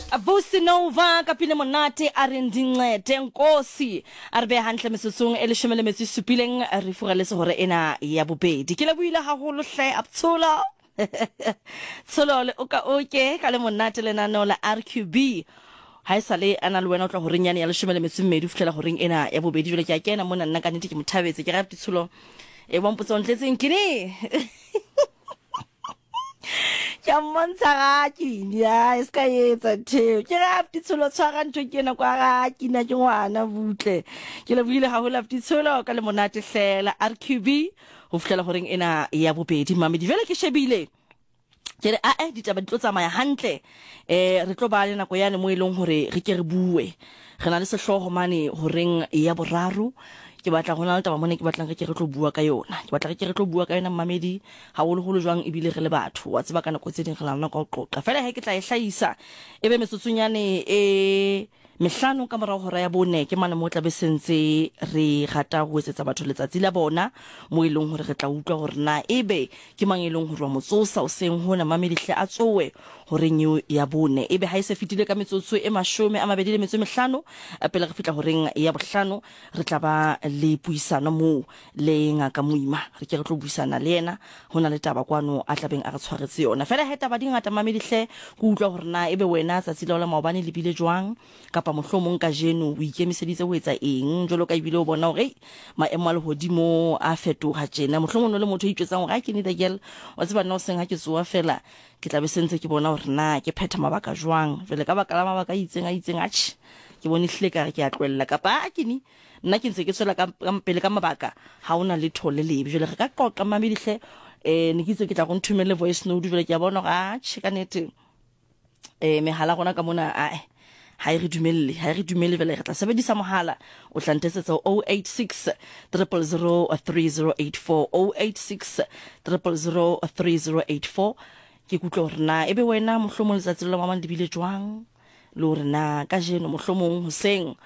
Vusi Nova ka pina monate a re ndincede nkosi a re beha hantle metsotsong e leshome le metso e supileng re furaletse hore ena ya bobedi. Ke lebohile haholo hle Abtsholo. Tsholo le oka oke ka le monate lenaneo la RQB. Ha e sale a na le wena o tla horeng yane ya leshome le metso e mmedi ho fihlela horeng ena ya bobedi. Jwale ke a kena mona nna ka nnete ke mo thabetse. Ke rata Tsholo. E wa mpotsa o ntletseng ke ne. Ke a mmontsha ga kini a e se ka etsa ntheo. Ke re Apti Tsholo tshwara ntho ke ena kwa ga kina ke ngwana butle. Ke lebohile haholo Apti Tsholo ka le monate hlela RQB ho fihlela horeng ena ya bobedi mamedi. Jwale ke shebile ke re ae ditaba di tlo tsamaya hantle eh re tlo ba le nako yane mo e leng hore re ke re bue re na le sehlooho mane horeng ya boraro ke batla go na le taba mone ke batlang re ke re tlo bua ka yona ke batla re ke re tlo bua ka yona mmamedi haholoholo jwang ebile re le batho wa tseba ka nako tse ding re na le nako ya ho qoqa fela he ke tla e hlahisa e be metsotsonyane e mehlano ka morao hora ya bone ke mane mo tla be sentse re rata ho etsetsa batho letsatsi la bona mo e leng hore re tla utlwa hore na ebe ke mang e leng hore wa mo tsosa hoseng hona mamedihle a tsowe horeng eo ya bone ebe ha e se fetile ka metsotso e 25 pele re fihla horeng ya bohlano re tla ba le puisano moo le ngaka Moima re ke re tlo buisana le yena ho na le taba kwano a tlabeng a re tshwaretse yona fela he taba di ngata mamedi hle ke utlwa hore na ebe wena tsatsi la la maobane le bile jwang kapa mohlomong kajeno o ikemiseditse ho etsa eng jwalo ka ebile o bona hore maemo a lehodimo a fetoha tjena mohlomong o le motho o itjwetsang hore a ke need a girl wa tseba nna o seng ha ke tsoa fela ke tla be sentse ke bona hore na ke phetha mabaka jwang jwale ka baka la mabaka a itseng a itseng atjhe ke bone hlile ka re ke a tlohella kapa a ke ni nna ke ntse ke tswela ka pele ka mabaka ha ona letho le lebe jwale re ka qoqa mamedihle um ne ke itse ke tla go nthomelle voice note jwale ke a bona gore atjhe ka nete um mehala rona ka mona ae ha e re dumelle ha e re dumelle jwale re tla sebedisa mohala o tla ntetsetsa 086 000 3084 086 000 3084 ke kutlwe hore na ebe wena mohlomong letsatsi la mamang le bile jwang le hore na kajeno mohlomong hoseng.